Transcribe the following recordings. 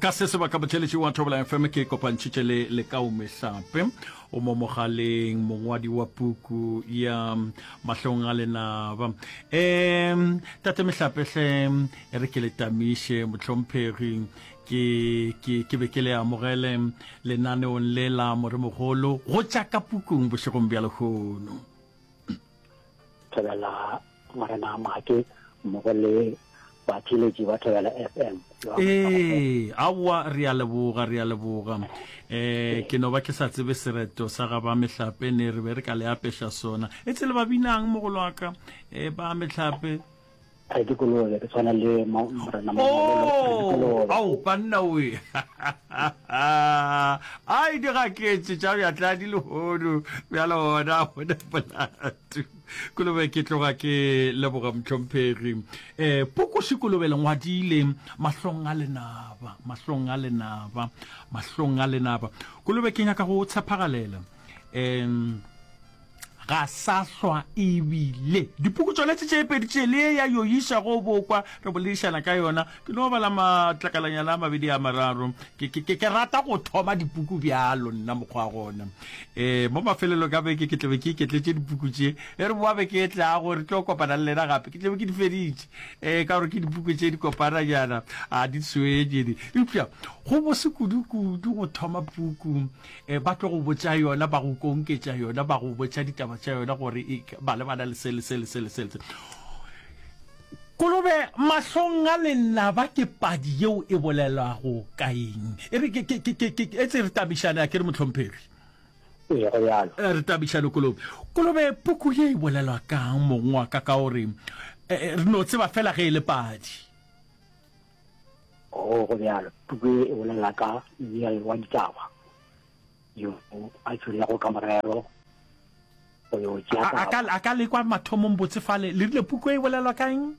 Ka se sebaka motheeletši wa Thobela FM ke kopantšhitše le Lekau Mehlape o mo mogaleng mongwadi wa puku ya Mahlong a Lenaba. Um tate Mehlape hle e re ke le tamiše mohlomphegi ke ke ke be ke le amogele lenaneong le la moremogolo go tša ka pukung bošegong bja lehono. Thobela Morena Make mmogo le batheeletši ba Thobela FM. Ee, aowa re a leboga, re a leboga. Eh, ke no ba ke sa tsebe sereto sa ga ba mehlape ne re be re ka le apeša sona. E tsele ba binang mogolo wa ka, eh, ba mehlape. Re dikolobe, ke tshwana le Morena Mamololo, re Oh, dikolobe. ao banna we. Ai di gaketše tša bjatladi lehono, bjalo gona gona molato. Kolobe ke tloga ke leboga mohlomphegi. Eh, puku Šikolobe le ngwadile mahlong a lenaba, mahlong a lenaba, mahlong a lenaba. Kolobe ke nyaka go tshephagalela. Em ga sa hlwa ebile dipuku tšona tše tše pedi tše le ya yo iša go bokwa re boledišana ka yona ke no bala matlakalanyana a mabedi a mararo ke, ke, ke, ke rata go thoma dipuku bjalo nna mokgwa gona um mo mafelelong ka beke ke tlabe ke iketletše dipuku tše e re boa beke e tlago re tlo kopana le lena gape ke tlabe ke di feditše um ka gore ke dipuku tše di kopana jana a di tshwenye di eupša go bose kudu-kudu go thoma puku um ba tlo go botša yona ba go konketša yona ba go botša ditaba tša yona gore e ba lebana le se le se le se le se le se Kolobe mahlong a lenaba ke padi yeo e bolelwago ka eng? E re ke, ke, ke, ke, ke, etse re tabišane, a ke re mohlomphegi? Ee, go bjalo. Eh, re tabišane Kolobe. Kolobe, puku ye e bolelwa kang mong wa ka ka gore eh, re no tseba fela ge e le padi? Oo, go bjalo. Puku ye e bolela ka mmial wa ditaba yo a tšwilego ka morero go yo tšea A, a ka, taba. a ka lekwa mathomong botse fale. Le rile puku e bolelwa ka eng?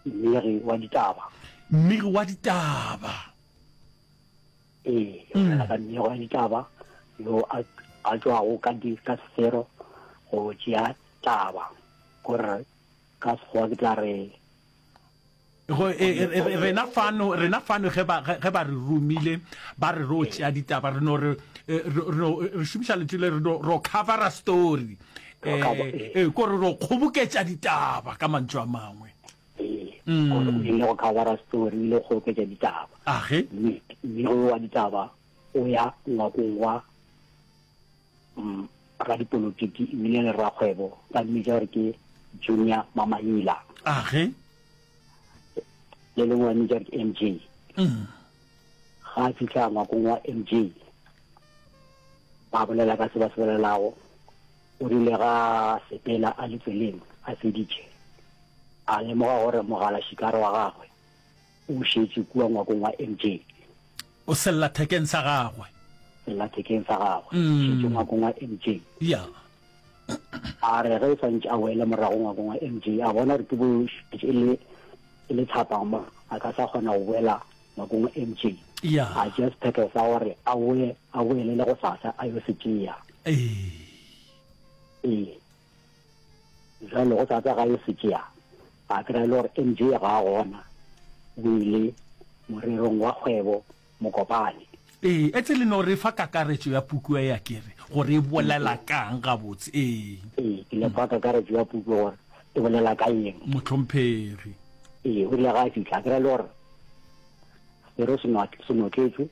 Mmegi wa ditaba. Mmegi wa ditaba. Ee, e bolela ka mmegi wa ditaba yo a, a tšwago ka, di, ka sefero go tšea taba. Gore ka Sekgowa ke tla re Go, e, e, e, rena fano, rena fano ge ba, ge ba re romile, ba re ro tšea ditaba, re no re, e, re, re, re šomiša lentšu le re no ro covera story. Eh, eh, ko re ro kgoboketša ditaba ka mantšu a mangwe. Ee, mm. o ile go covera story, o ile go kgoboketša ditaba. Age? Mme, mme wa ditaba o ya ngwakong wa mm, radipolotiki ebile le rakgwebo ba mmitša gore ke Junior Mamaila. Age? Le lengwe ba mmitša gore ke MJ. Mm. Ga a fihla ngwakong wa MJ ba bolela ka se ba se bolelago o rile ga sepela a le tseleng a feditše a lemoga gore mogala šikara wa gagwe o šetše kua ngwakong wa MJ. O sellathekeng sa gagwe. Sellathekeng sa gagwe. Mm. Šetše ngwakong wa MJ. Ya. A re ge e swantše a boele morago ngwakong wa MJ, a bona gore ke bo šetše e le e le thapama, a ka sa kgona go boela ngwakong wa MJ. Ya. A tšea sephetho sa gore a boe a boele le go sasa a yo se tšea. Ee. Ee. Bjale go sa tsa ga yo se tšea, a kry-a e le gore MJ ga a gona, o ile morerong wa kgwebo Mokopane. Ee, etse le no re fa kakaretšo ya puku e ya kere, gore e bolela kang gabotse. Ee. Ee, ke le fa kakaretšo ya puku gore e bolela ka eng. Mohlomphegi. Ee, o rile ga a fihla, a kry-a e le gore sero se notletšwe,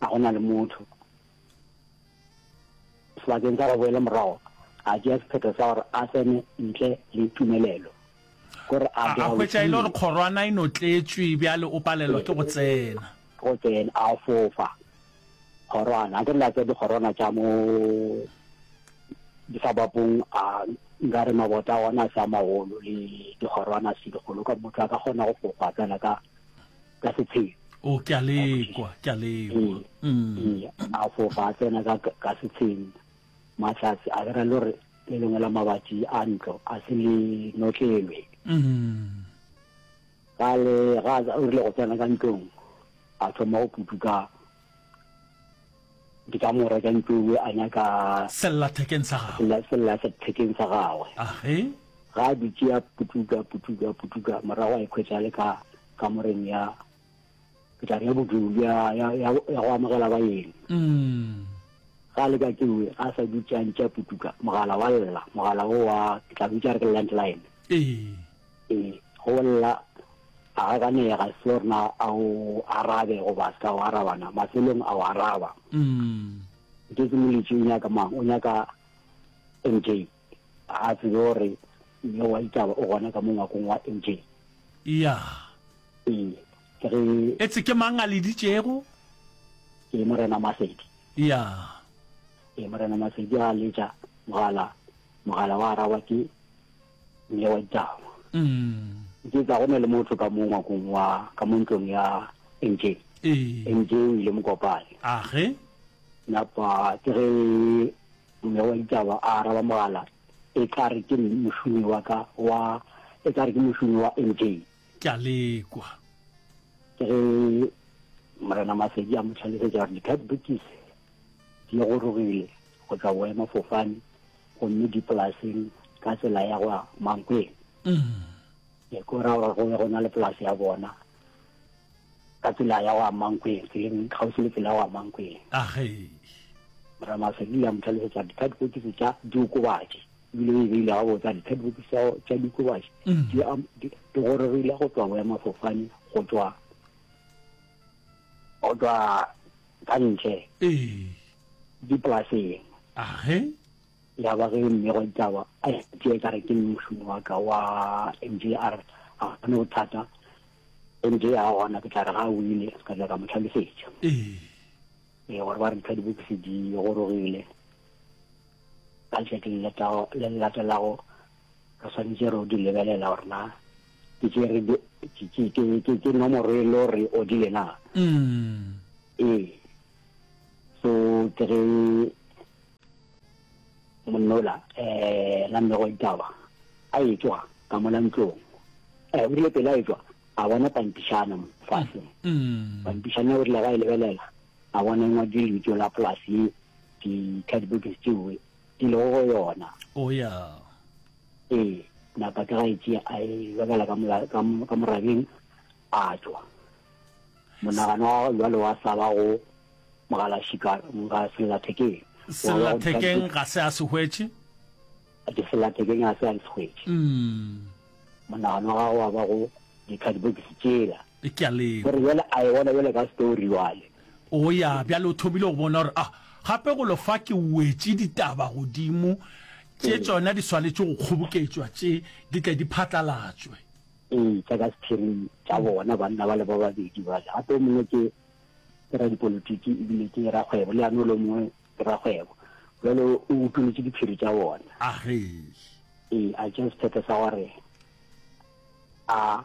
ga go na le motho. Sebakeng sa go boela morago, a tšea sephetho sa gore a tsene ntle le tumelelo. Gore a A, a hwetša e le gore kgorwana e notletšwe, bjale o palelwa ke go tsena. Go tsena, a fofa kgorwana. Akere le a tseba dikgorwana tša mo disabapong, a nkare mabota a ona a se a magolo le dikgorwana se dikgolo, ka motho a ka kgona go fofa fela ka ka setsheng. O, ke a lekwa, ke a lekwa. Mm. Ee, a fofa a tsena ka ka setsheng mahlatse a kry-a le gore le lengwe la mabati a ntlo a se le notlelwe. Mm. Ga le ga o rile go tsena ka ntlong a thoma go putuka dikamora tša ntlo ewe a nyaka Sellathekeng sa gagwe. sellathekeng sa gagwe. Age. Ga a dutše a putuka putuka putuka morago a ikhwetša a le ka kamoreng ya. Ke tla re ya bodulo, ya, ya, ya, ya go amogela baeng. Mm. Ga a le ka kewe, ga a sa dutše a ntše a putuka, mogala wa lla, mogala wo wa, ke tla bitša re ke landline. Ee. Ee, go lla, a gakanega, se gore na a o arabe goba a se ka o araba na, mafelong a o araba. Mm. Nke ke moletši o nyaka mang? O nyaka MJ. Ga a tsebe gore mme wa ditaba o gona ka mo ngwakong wa MJ. Ya. Ee, ke ge. Etse ke mang a leditšego? Ke Morena Masedi. Ya. Ee, Morena Masedi a letša mogala, mogala wa araba ke mme wa ditaba. Mm. Ke tla go na le motho ka mo ngwakong wa, ka mo ntlong ya MJ. Ee. MJ o ile Mokopane. Age. Napa ke ge mme wa ditaba a araba mogala, e tla re ke mošomi wa ka wa, e tla re ke mošomi wa MJ. Ke a lekwa. Ke ge Morena Masedi a mo hlalosetša gore di-cardbokisi di gorogile go tšwa boemafofane gomme di polaseng ka tsela ya go ya Mankweng. Ke ko ra gore go be go na le polase ya bona ka tsela ya go ya Mankweng, tseleng kgauswi le tsela ya go ya Mankweng. Age. Morena Masedi a mo hlalosetša gore di-cardbokisi tša diokobatši ebile o e beile gabotse a di-cardbokisi tša diokobatši di di gorogile go tšwa boemafofane go tšwa go tšwa ka ntle Ee. dipolaseng. Age. Ya ba ge mme wa ditaba a tšee ka re ke mošomi wa ka wa MJ a re ga go ne bothata MJ a gona ke tla re ga a wile ka tla ka mo hlalosetša. Ee. Ee gore ba re di-cardbokisi di gorogile ka letšatši le le latelago re swanetše re di lebelela gore na ke tše re ke nomoro e le gore o dile na. Mm. Ee. So ke ge monnola eh la mmego ditaba a etšwa ka mola ntlong eh o rile pele a etšwa a bona pampišana mo fase mm. pampišana o rile ga e lebelela a bona e ngwadile lebitso la polase ye di-cardboards tšeo di lego go yona o ya ee napa ke ga e tšea a e lokela ka morabeng a tšwa Monagano wa gagwe bjale wa sa ba go mogalašika ga sellathekeng. Sellathekeng ga se a se hwetše? Sellathekeng ga se a se hwetše. Monagano wa gagwe wa ba go dikhadibokisi tšela. Ke a lekwa. Gore bjale a e bona bjale ka story bjale. O ya, bjale o thomile go bona gore, ah, gape golo fa ke wetše ditaba godimo, tše tšona di swanetše go kgoboketšwa, tše di tle di phatlalatšwe. Ee, tša ka sephiring tša bona banna bale ba babedi bale. Gape o mongwe ke ke radipolotiki ebile ke rakgwebo, le yena o mongwe ke rakgwebo. Bjale o utolotše diphiri tša bona. Age. Ee, a tšea sephetho sa gore a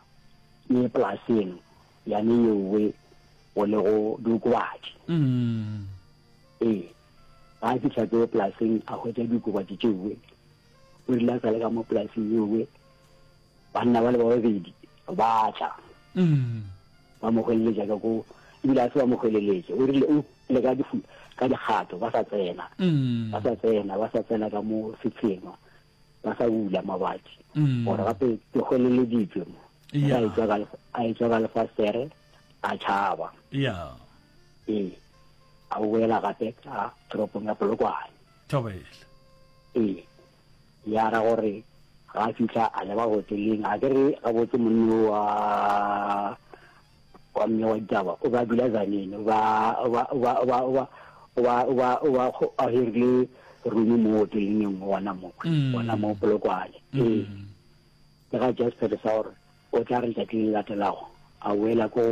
ye polaseng yane yeowe go lego diokobatši. Ee, ga a fihla keo polaseng a hwetša diokobatši tšeowe. O rile a sa le ka mo polaseng yeowe Banna bale ba babedi ba tla. Ba mo hweleletša ka ko, ebile a se ba mo hweleletše. O rile o le ka difu, ka dikgato, ba sa tsena. Ba sa tsena, ba sa tsena ka mo setsheng, ba sa bula mabati. Gore gape ke hweleleditšwe mo. Ya. A etšwa ka, a etšwa ka lefastere, a tšhaba. Ya. Ee. A boela gape ka toropong ya Polokwane. Thobela. Ee. Ya ra gore ga a fihla a leba hoteleng, a ke re gabotse monna yo wa wa mme wa ditaba o be a dula Tzaneen, o ba o ba o ba o ba o ba o ba o ba o ba a hirile room mo hoteleng e nngwe gona mo gona mo Polokwane. Ee, ke ga tšea sephetho sa gore o tla re letšatši le le latelago a boela ko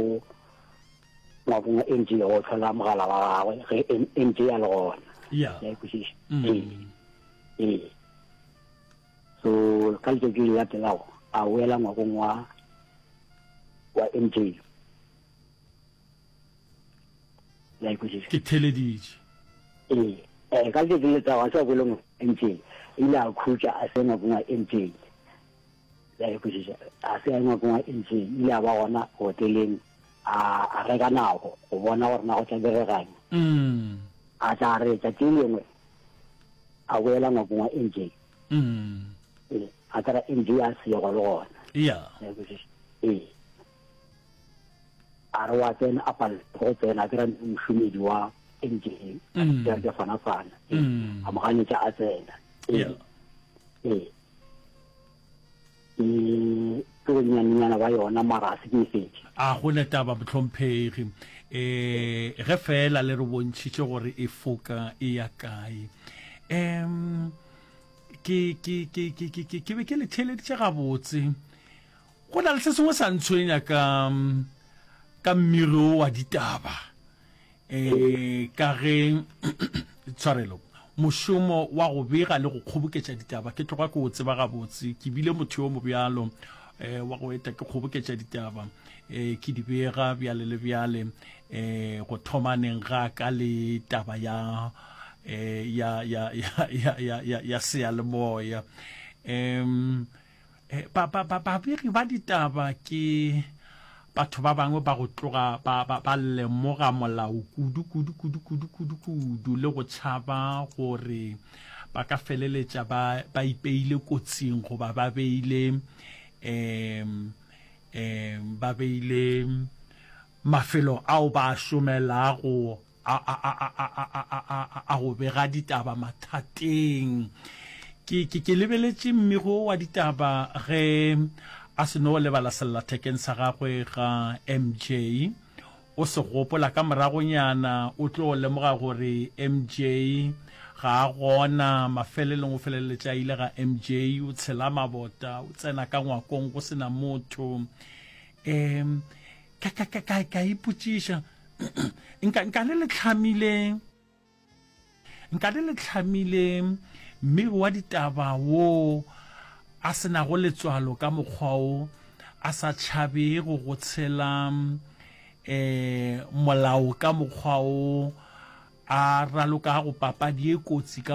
ngwakong wa MJ go hlola mogala wa gagwe ge MJ a le gona. Ya. Ya e kwešiša? Ee. Ee. So ka letšatši le latelago a boela ngwakong wa wa MJ. La e kwešiša? Ke theleditše. Ee. Eh, ka letšatši le latelago a se a boele ngwakong wa MJ. Ile a khutša a se ngwakong wa MJ. La e kwešiša? A se a ngwakong wa MJ. Ile a ba gona hoteleng a a reka nako go bona gore na go tla diregang. Mm. A tla re tšatši le lengwe a boela ngwakong wa MJ. Mm. Ee, a kry-a MJ a sego le gona. Ya. Ee. A re wa tsena, a palelwa ke go tsena, a kry-a mošomedi wa MJ, a re ke fana-fana, a mo ganetša a tsena. Ee, ee. Ke, ke bonyanenyana ba yona, mara a se ke e fetše. A go ne taba, mohlomphegi. E, ge feela le re bontšhitše gore e foka e ya kae. Um, ke, ke, ke, ke, ke, ke, ke be ke le theeleditše gabotse. Go na le se sengwe sa ntshwenya ka, ka mmiri wo wa ditaba. E, ka ge, tshwarelo, mošomo wa go bega le go kgoboketša ditaba ke tloga ke o tseba gabotse. Ke bile motho yo mobjalo e, wa go eta ke kgoboketša ditaba e, ke di bega bjale le bjale e, go thomaneng ga ka le taba ya e, ya ya ya ya ya ya, ya seyalemoya. Um, Ba, ba, ba, babegi ba ditaba ke batho ba bangwe ba go tloga ba, ba, ba lemoga molao kudu, kudu, kudu, kudu, kudu, kudu, le go tšhaba gore ba ka feleletša ba, ba ipeile kotsing goba ba beile, um, um, ba beile mafelo ao ba a šomelago a, a, a, a, a, a, a, a, a go bega ditaba mathateng. Ke, ke, ke lebeletše mmego wa ditaba ge a se no lebala sellathekeng sa gagwe ga MJ. O se gopola ka moragonyana, o tlo lemoga gore MJ ga a gona. Mafelelong o feleletša a ile ga MJ, o tshela mabota, o tsena ka ngwakong go se na motho. Um, ka, ka, ka, ka, ka ipotšiša, nka, nka le le hlamile, nka le le hlamile mmegi wa ditaba wo a se nago letswalo ka mokgwa wo, a sa tšhabego go tshela um molao ka mokgwa wo, a ralokago papadi ye kotsi ka.